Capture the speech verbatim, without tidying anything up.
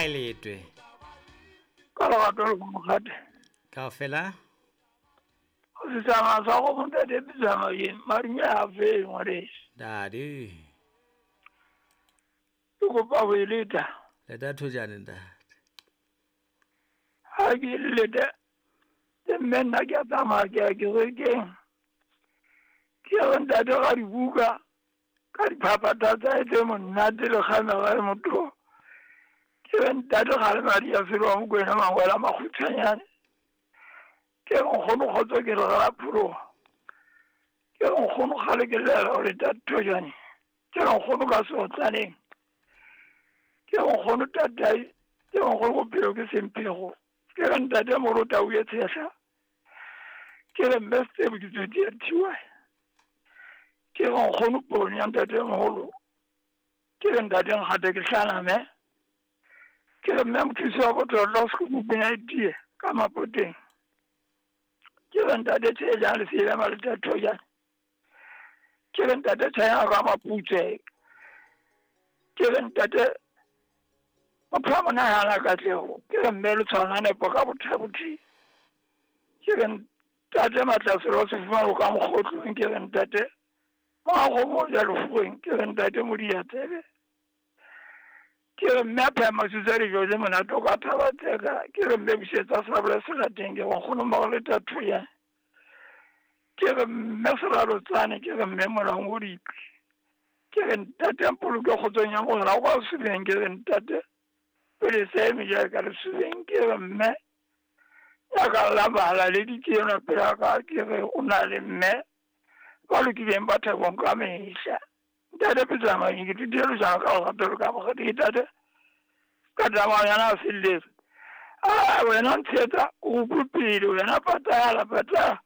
kae letwe? Ka lerato le mokgate. Kaofela? O setsama sa go ntate Pitsama ye marume a fe ngwaneso. Dadi. Ke kopa ho e leta. Leta thojane ntate. Ha ke leta ke mme nna ke a tsamaya ke ya kerekeng. Ke re ntate ga dibuka ka diphaphatha tsa tse monate le kgamega e motho. Ke re ntate ga le madi a felo a Mokwena mangwela a makgutshwanyane. Ke re nkgono kgotso ke re ga pholoha. Ke re nkgono kgale ke llela ho leta thojane. Ke re nkgono ka seotlaneng. Ke re nkgono tatai. Ke re nkgono bophelo ke semphego. Ke re ntate morota o ye tshehla. Ke re mme Setebo ke tswetse ya thiwa. Ke re nkgono poone ya ntate moholo. Ke re ntate nkgate ke hlaname. Ke re mme mothusi wa botlotlo sekukupeng a itie ka mapoteng. Ke re ntate tshejang lesela maleta thojane. Ke re ntate tshayang ka maputswe. Ke re ntate motho wa monahana katleho. Ke re mme le tshwana nepo ka bothabothi. Ke re ntate matlaselo se fumana ka mokgotlong. Ke re ntate moago ja lefoweng. Ke re ntate modiatsebe. Ke re mme a phema sutsa dijo tse monate o ka thabatseka. Ke re mme busetsa sabole serateng. Ke re nkgono mmago leta thojane. Ke re mme seralotsane. Ke re mme molang o dipi. Ke re ntate mpoloke kgotsong ya mogala kwa sebeng. Ke re ntate pele se eme jaaka lesubeng. Ke re mme ya ka la bala le ditseno pela ka. Ke re o na le mme ba lokileng ba thabong ka mehla. Ntate Pitsama ke thutile jang ka lerato ka bogadi ntate ka tsamayana a felletse. A wena ntshetsa o utlwe pele wena patala patala.